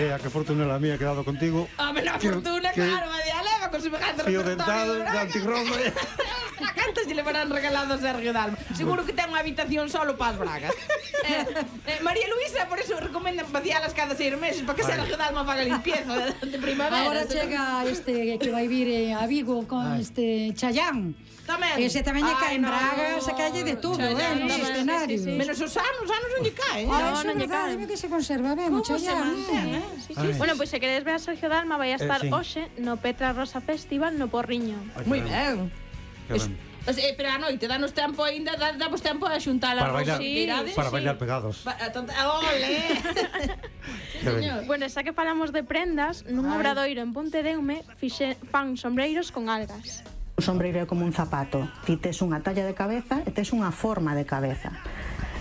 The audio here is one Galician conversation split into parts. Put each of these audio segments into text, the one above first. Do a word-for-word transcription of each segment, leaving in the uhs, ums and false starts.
idea, que fortuna la mía, he quedado contigo. Home, na fortuna, claro, a de Aleva con semejante fío dentado de antirrobo. A cantas lle levarán regalado a Sergio Dalma. Seguro que ten unha habitación solo para as bragas. eh, eh, María Luisa, por eso recomendan vacialas cada seis meses, para que Sergio Dalma faga limpieza de, de primavera. Agora chega este que vai vir eh, a Vigo con Ay. este Chayán. Tamén. Ese tamén lle caen no, bragas, a calle de todo, eh, nos escenarios. Sí, sí, sí. Menos os anos, os anos non lle caen. Ah, no, non lle caen. Que se conserva ben, o Chayán. Eh? Sí, sí. Bueno, pois pues, se queredes ver a Sergio Dalma, vai a estar eh, sí. hoxe no Petra Rosa Festival no Porriño. Moi ben. Eh, pero a noite, danos tempo ainda, damos tempo a xuntar a rosa sí, para bailar pegados. Ole. Sí, señor. Bueno, xa que falamos de prendas, nun obradoiro en Pontedeume fixe fan sombreiros con algas. Un sombreiro é como un zapato. Ti tes unha talla de cabeza e tes unha forma de cabeza.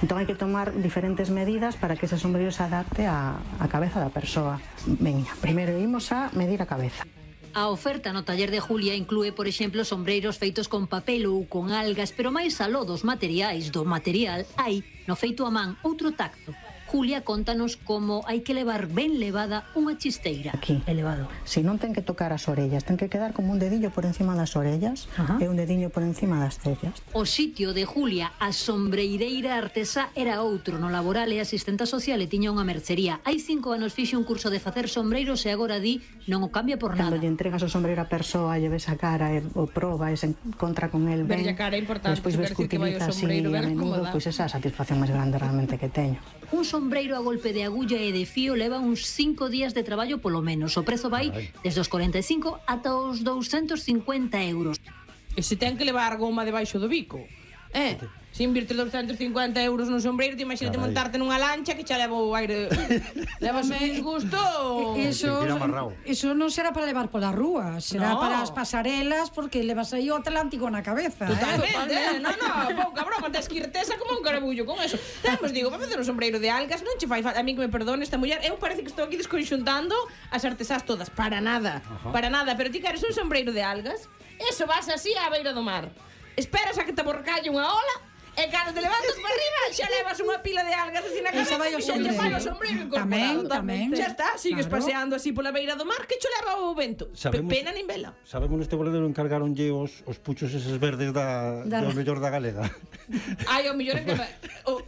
Entón hai que tomar diferentes medidas para que ese sombreiro se adapte á, á cabeza da persoa. Veña, primeiro imos a medir a cabeza. A oferta no taller de Julia inclúe, por exemplo, sombreiros feitos con papel ou con algas, pero máis aló dos materiais, do material, hai, no feito a man, outro tacto. Julia contanos como hai que levar ben levada unha chisteira. Aquí, elevado. Si non ten que tocar as orellas, ten que quedar como un dedillo por encima das orellas e un dediño por encima das cellas. O sitio de Julia, a sombreireira artesá, era outro. No laboral e asistenta social e tiña unha mercería. Hai cinco anos fixe un curso de facer sombreiros e agora di non o cambia por nada. Cando lle entregas o sombreiro a persoa, lle ves a cara e o proba e se encontra con el ben. Verlle a cara é importante, despois ves que utiliza así a menudo, pois esa é a satisfacción máis grande realmente que teño. Un sombreiro a golpe de agulla e de fío leva uns cinco días de traballo polo menos. O prezo vai desde os cuarenta e cinco ata os doscientos cincuenta euros. E se ten que levar goma debaixo do bico, eh? Se invirtes doscientos cincuenta euros nun sombreiro, te imagínate montarte nunha lancha que xa leva o aire. Levas un disgusto. Eso, eso non será para levar pola rúa, será no. para as pasarelas, porque levas aí o Atlántico na cabeza. Totalmente, eh? No, no, pouca broma, tes que irtesa como un carabullo con eso. Temos, digo, para facer un sombreiro de algas, non che fai falta, a mí que me perdone esta muller, eu parece que estou aquí desconxuntando as artesás todas, para nada, Ajá. para nada, pero ti queres un sombreiro de algas, eso vas así á beira do mar, esperas a que te borcalle unha ola, e cando te levantas para arriba xa levas unha pila de algas así na cabeza e xa te fai o sombreiro incorporado. Tamén, tamén. Xa está, sigues claro. paseando así pola beira do mar que cho leva o vento. Sabemos, pena nin vela. Sabemos neste boleiro encargaronlle os, os puchos eses verdes da, da... do mellor da galega. Ai, o mellor é que...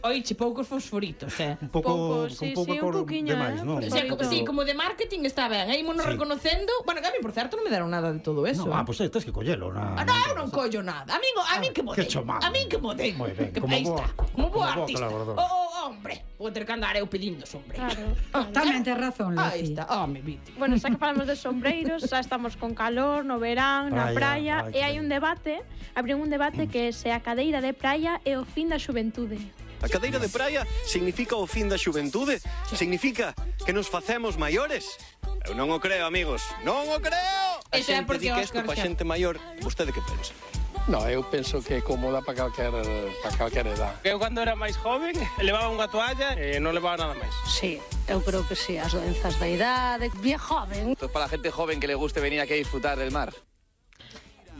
Oiche, poucos fosforitos, eh? Un pouco, pouco sí, un pouco sí, un poquinho, demais, eh? non? O sea, como, sí, como de marketing está ben. Aí mono sí. reconocendo... Bueno, que a mí, por certo, non me deron nada de todo eso. No, ah, pois pues, tens que collelo. Na, ah, no, eu non collo nada. A mí, a mí que modei. A mí que modei. Moi ben, como boa. Como boa artista. Oh, oh, hombre, vou ter que andar eu pedindo sombreiro. Claro. Oh, tamén tes razón, Lucy. Aí está, oh, me vite. Bueno, xa que falamos de sombreiros, xa estamos con calor, no verán, na praia, e hai un debate, abriu un debate que se a cadeira de praia é o fin da xuventude. A cadeira de praia significa o fin da xuventude? Significa que nos facemos maiores? Eu non o creo, amigos, non o creo! A xente di que isto pa xente maior, vostede que pensa? No, eu penso que é cómoda para calquer, para calquer edad. Eu cando era máis joven levaba unha toalla e non levaba nada máis. Sí, eu creo que sí, as doenzas da idade, bien joven. Pues para la gente joven que le guste venir aquí a disfrutar del mar.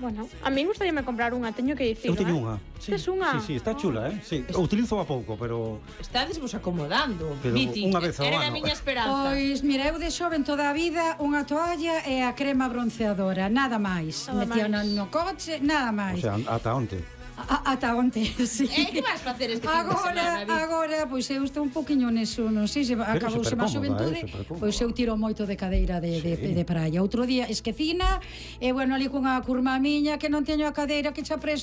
Bueno, a mí gustaríame comprar unha, teño que dicirlo, eu teño eh? unha. Sí, tes unha? Sí, sí, está chula, eh? Sí, o utilizo a pouco, pero... Estades vos acomodando, pero Viti. Unha vez ao Era ano. a miña esperanza. Pois, mira, eu de xoven toda a vida unha toalla e a crema bronceadora, nada máis. Metía no coche, nada máis. O sea, ata onte. A, ata onte, sí. E que vas facer este fin agora, de semana? Agora, pois eu estou un poquinho neso, non sei se acabouse máis xuventude, pois eu tiro moito de cadeira de, sí. de, de praia. Outro día esquecina, e bueno, ali cunha curma miña que non teño a cadeira que xa presto